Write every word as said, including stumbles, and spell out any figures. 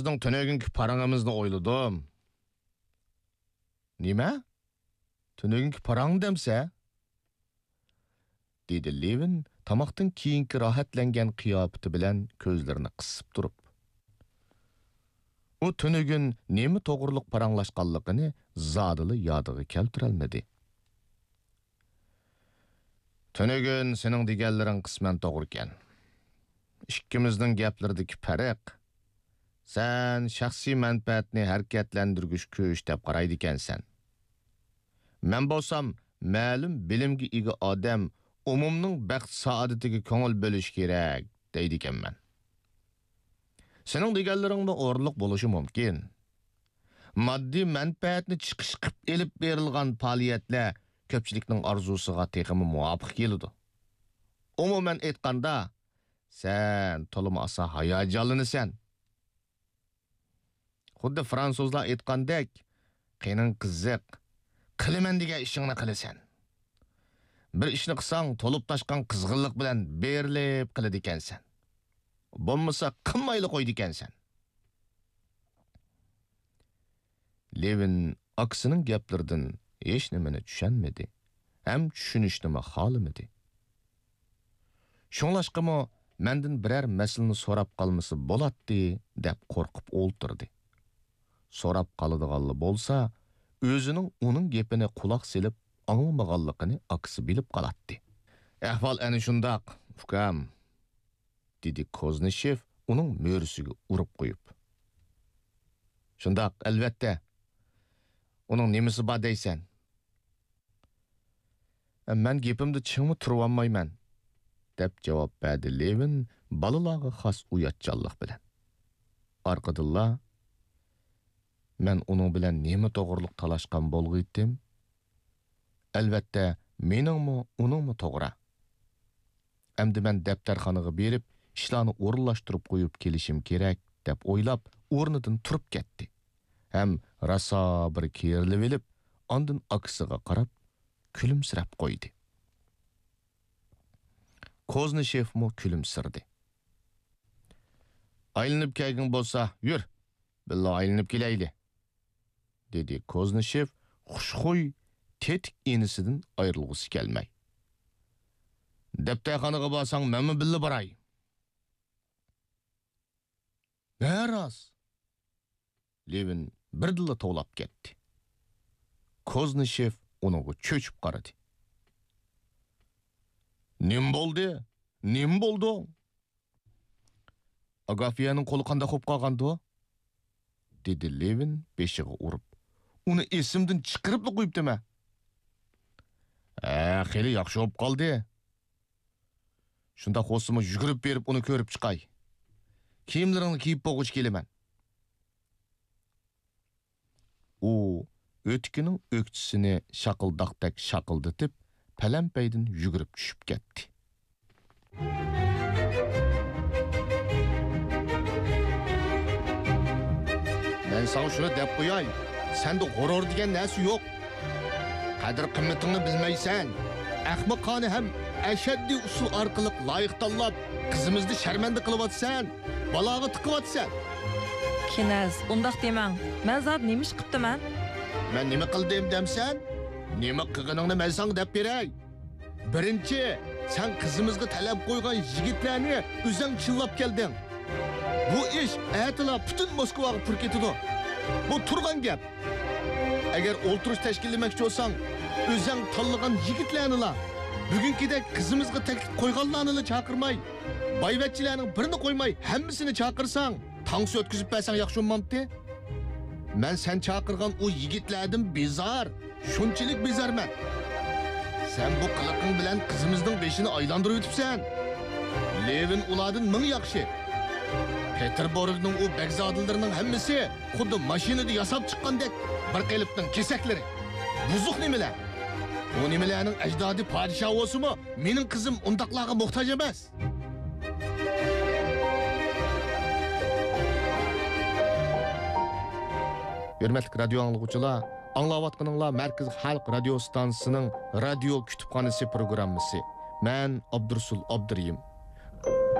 سىزنىڭ تۈنۈگۈنكى پاراڭىمىزنى ئويلىدىم. نېمە؟ تۈنۈگۈنكى پاراڭ دەمسە؟ دېدى لېۋىن تاماقتىن كېيىنكى راھەتلەنگەن قىياپىتى بىلەن كۆزلىرىنى قىسىپ تۇرۇپ. ئۇ تۈنۈگۈن نېمە توغرۇلۇق پاراڭلاشقانلىقىنى زادىلا يادىغا كەلتۈرەلمىدى. تۈنۈگۈن سېنىڭ دېگەنلىرىڭ قىسمەن توغرىكەن. ئىككىمىزنىڭ گەپلىرىدىكى پەرق، سەن شەخسىي مەنپەئەتنى ھەرىكەتلەندۈرگۈچ كۈچ دەپ قارايدىكەنسەن. مەن بولسام، مەلۇم بىلىمگە ئىگە ئادەم ئومۇمنىڭ بەخت-سائادىتىگە كۆڭۈل بۆلۈش كېرەك، دەيدىكەنمەن. سېنىڭ دېگەنلىرىڭمۇ ئورۇنلۇق بولۇشى مۇمكىن. ماددىي مەنپەئەتنى چىقىش قىپ ئېلىپ بېرىلغان پائالىيەتلەر كۆپچىلىكنىڭ ئارزۇسىغا تېخىمۇ مۇۋاپىق كېلىدۇ. ئومۇمەن ئېيتقاندا، سەن تولىمۇ ئاسان ھاياجانلىنىسەن. خۇددى فرانسۇزلار ئېيتقاندەك، قېنىڭ قىزىق، قىلىمەن دېگەن ئىشىڭنى قىلىسەن. بىر ئىشنى قىلساڭ، تولۇپ تاشقان قىزغىنلىق بىلەن بېرىلىپ قىلىدىكەنسەن. بولمىسا، قىلمايلا قويىدىكەنسەن. لېۋىن ئاكىسىنىڭ گەپلىرىدىن ھېچنېمىنى چۈشەنمىدى ھەم چۈشىنىشنىمۇ خالىمىدى. شۇڭلاشقىمۇ مەندىن بىرەر مەسىلىنى سوراپ قالمىسا بولاتتى دەپ قورقۇپ ئولتۇردى. سوراپ قالىدىغانلا بولسا، ئۆزىنىڭ ئۇنىڭ گېپىنى قۇلاق سېلىپ ئاڭلىمىغانلىقىنى ئاكىسى بىلىپ قالاتتى. ئەھۋال ئەنە شۇنداق، ئۇكام. دېدى كوزنىشېف ئۇنىڭ مۈرىسىگە ئۇرۇپ قويۇپ. شۇنداق، ئەلۋەتتە. ئۇنىڭ نېمىسى بار دەيسەن؟ مەن گېپىمدە چىڭمۇ تۇرۇۋالمايمەن، دەپ جاۋاب بەردى لېۋىن بالىلارغا خاس ئۇياتچانلىق بىلەن. ئارقىدىنلا، مەن ئۇنىڭ بىلەن نېمە توغرۇلۇق تالاشقان بولغىيتتىم؟ ئەلۋەتتە، مېنىڭمۇ، ئۇنىڭمۇ توغرا. ئەمدى مەن دەپتەرخانىغا بېرىپ، ئىشلارنى ئورۇنلاشتۇرۇپ قويۇپ كېلىشىم كېرەك، دەپ ئويلاپ، ئورنىدىن تۇرۇپ كەتتى ھەم راسا بىر كېرىلىۋېلىپ، ئاندىن ئاكىسىغا قاراپ كۈلۈمسىرەپ قويدى. كوزنىشېفمۇ كۈلۈمسىرىدى. ئايلىنىپ كەلگۈڭ بولسا، يۈر، بىللە ئايلىنىپ كېلەيلى. دېدى كوزنىشېف خۇشخۇي، تېتىك ئىنىسىدىن ئايرىلغۇسى كەلمەي. دەپتەرخانىغا بارساڭ، مەنمۇ بىللە باراي. ھە، راست. لېۋىن بىردىنلا توۋلاپ كەتتى. كوزنىشېف ئۇنىڭغا چۆچۈپ قارىدى. نېمە بولدى؟ نېمە بولدۇڭ؟ ئاگافيەنىڭ قولى قانداق بولۇپ قالغاندۇ؟ دېدى لېۋىن بېشىغا ئۇرۇپ. ئۇنى ئېسىمدىن چىقىرىپلا قويۇپتىمەن. ھە، خېلى ياخشى بولۇپ قالدى. شۇنداق بولسىمۇ يۈگۈرۈپ بېرىپ ئۇنى كۆرۈپ چىقاي. كىيىملىرىڭنى كىيىپ بولغۇچە كېلىمەن. ئۇ ئۆتۈكىنىڭ ئۆكچىسىنى شاقىلداقتەك شاقىلدىتىپ، پەلەمپەيدىن يۈگۈرۈپ چۈشۈپ كەتتى. مەن ساڭا شۇنى دەپ قوياي، سەندە غۇرۇر دېگەن نەرسە يوق. قەدىر-قىممىتىڭنى بىلمەيسەن. ئەخمىقانە ھەم ئەشەددىي ئۇسۇل ئارقىلىق لايىق تاللاپ، قىزىمىزنى شەرمەندە قىلىۋاتىسەن، بالاغا تىقىۋاتىسەن. كىنەز، ئۇنداق دېمەڭ. مەن زادى نېمە ئىش قىپتىمەن؟ مەن نېمە قىلدىم دەمسەن؟ نېمە قىلغىنىڭنى مەن ساڭا دەپ بېرەي. بىرىنچى، سەن قىزىمىزغا تەلەپ قويغان يىگىتلەرنى ئۆزەڭ چىللاپ كەلدىڭ. بۇ ئىش ئەتىلا پۈتۈن موسكۋاغا پۇر كېتىدۇ. بۇ تۇرغان گەپ. ئەگەر ئولتۇرۇش تەشكىللىمەكچى بولساڭ، ئۆزەڭ تاللىغان يىگىتلەرنىلا، بۈگۈنكىدەك قىزىمىزغا تەكلىپ قويغانلارنىلا چاقىرماي، بايۋەچچىلەرنىڭ بىرىنى قويماي، ھەممىسىنى چاقىرساڭ، تانسا ئۆتكۈزۈپ بەرسەڭ ياخشى بولمامتى؟ مەن سەن چاقىرغان ئۇ يىگىتلەردىن بىزار، شۇنچىلىك بىزارمەن. سەن بۇ قىلىقىڭ بىلەن قىزىمىزنىڭ بېشىنى ئايلاندۇرۇۋېتىپسەن. لېۋىن ئۇلاردىن مىڭ ياخشى. پېتېربۇرگنىڭ ئۇ بەگزادىلىرىنىڭ ھەممىسى خۇددى ماشىنىدا ياساپ چىققاندەك بىر قېلىپنىڭ كېسەكلىرى. بۇزۇق نېمىلەر. ئۇ نېمىلەرنىڭ ئەجدادى پادىشاھ بولسىمۇ، مېنىڭ قىزىم ئۇنداقلارغا موھتاج ئەمەس. ھۆرمەتلىك رادىيو ئاڭلىغۇچىلار، ئاڭلاۋاتقىنىڭلار مەركىزىي خەلق رادىيو ئىستانسىسىنىڭ رادىيو كۇتۇپخانىسى پروگراممىسى. مەن ئابدۇرۇسۇل ئابدۇرېھىم.